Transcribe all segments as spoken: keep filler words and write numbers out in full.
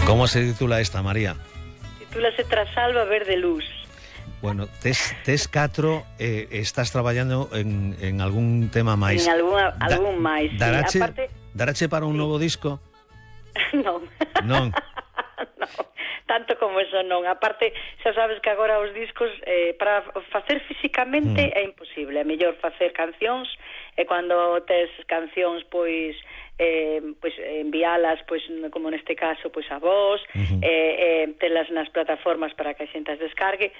Como se titula esta, María? Titúlase Trasalba Verde Luz. Bueno, tes, tes catro, eh, estás traballando en, en algún tema máis. En algún, algún da, máis, darache, sí. Aparte... Darache para un sí. novo disco? Non. Non. Non, tanto como eso non. Aparte, xa sabes que agora os discos eh, para facer físicamente mm. é imposible. É mellor facer cancións e cando tes cancións, pois eh, pois envialas, pois como neste caso, pois a vos, uh-huh. eh, eh, telas nas plataformas para que a xente as descargue,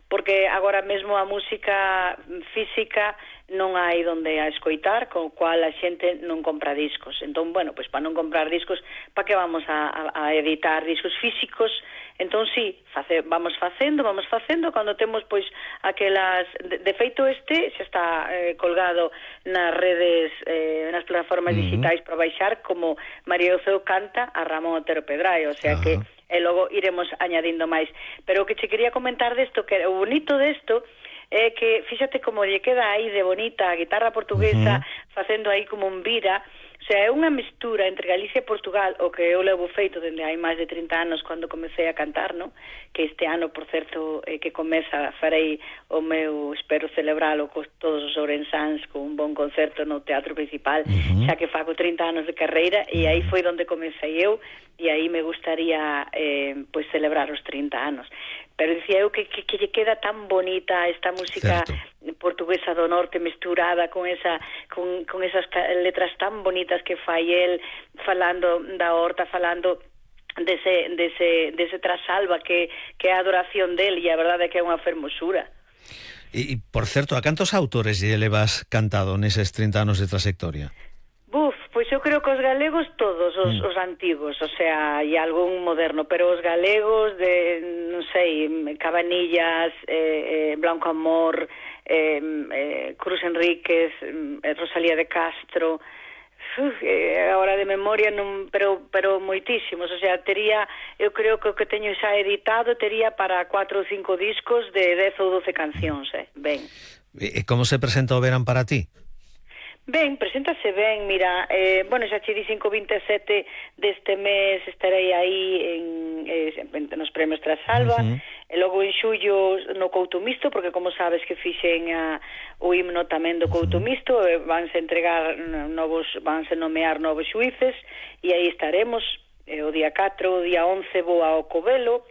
porque agora mesmo a música física non hai donde a escoitar, con cual a xente non compra discos. Entón, bueno, pois para non comprar discos, para que vamos a, a, a editar discos físicos? Entón, sí, face, vamos facendo, vamos facendo, cando temos, pois, aquelas... De, de feito, este xa está eh, colgado nas redes, eh, nas plataformas uh-huh. digitais para baixar, como María Oceu canta a Ramón Otero Pedraio, o sea uh-huh. que e logo iremos añadindo máis. Pero o que che quería comentar desto, que o bonito desto é que, fíxate como lle queda aí de bonita a guitarra portuguesa, uh-huh. facendo aí como un vira. O sea, é unha mestura entre Galicia e Portugal, o que eu levo feito dende hai máis de trinta anos cando comecei a cantar, no? Que este ano, por certo, eh, que comeza, farei o meu, espero celebralo con todos os ourensáns con un bon concerto no Teatro Principal, uh-huh. xa que fago trinta anos de carreira, e aí foi onde comecei eu, e aí me gustaría eh, pois celebrar os trinta anos. Pero dicía eu que, que, que lle queda tan bonita esta música certo. Portuguesa do norte mesturada con esa con, con esas letras tan bonitas que fai el, falando da horta, falando dese, dese, dese Trasalba que, que é a adoración del, e a verdade é que é unha fermosura. E, e por certo, a cantos autores lle levas cantado neses trinta anos de trayectoria? Buf, pois eu creo que os galegos todos, os, mm. os antigos, o sea, e algún moderno, pero os galegos de, non sei, Cabanillas, eh, eh, Blanco Amor, eh, eh, Cruz Enríquez, eh, Rosalía de Castro, uf, eh, agora de memoria, non, pero pero moitísimos, o sea, tería, eu creo que o que teño xa editado tería para cuatro ou cinco discos de dez ou doce cancións, eh, ben. E como se presenta o verán para ti? Ben, preséntase ben, mira, eh, bueno, xa che dixen que o vinte e sete deste mes estarei aí en, eh, nos premios Trasalba, uh-huh. e logo en xullo no Couto Misto, porque como sabes que fixen a, o himno tamén do Couto Misto, e vanse entregar novos, vanse nomear novos xuíces, e aí estaremos, eh, o día catro, o día once vou ao Covelo,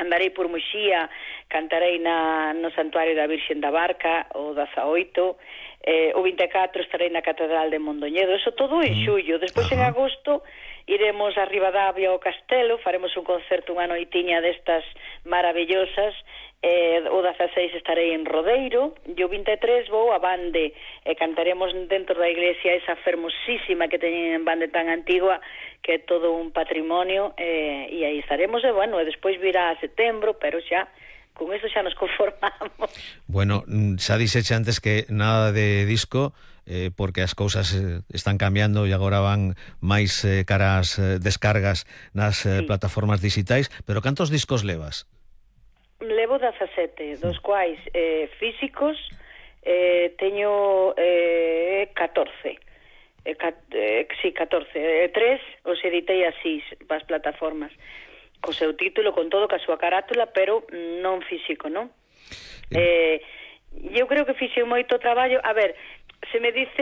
andarei por Muxía, cantarei na, no Santuario da Virxen da Barca, o dezaoito, eh, o vinte e catro estarei na Catedral de Mondoñedo, eso todo en xullo. Despois uh-huh. en agosto iremos a Ribadavia ao Castelo, faremos un concerto, unha noitiña destas maravillosas, eh, o dezaseis estarei en Rodeiro, e o vinte e tres vou a Bande, e cantaremos dentro da iglesia esa fermosísima que teñen en Bande tan antigua, que é todo un patrimonio, eh, e aí estaremos, e bueno, e despois virá a setembro, pero xa con eso xa nos conformamos. Bueno, xa dixeche antes que nada de disco, eh, porque as cousas eh, están cambiando e agora van máis eh, caras eh, descargas nas eh, sí. plataformas digitais, pero cantos discos levas? Levo dezasete, dos quais eh, físicos eh, teño eh, catorce. Eh, cat, eh, sí, catorce. Eh, tres os editei así para as plataformas, co seu título, con todo, ca súa carátula, pero non físico, non? Eh, eu creo que fixe moito traballo. A ver, se me dice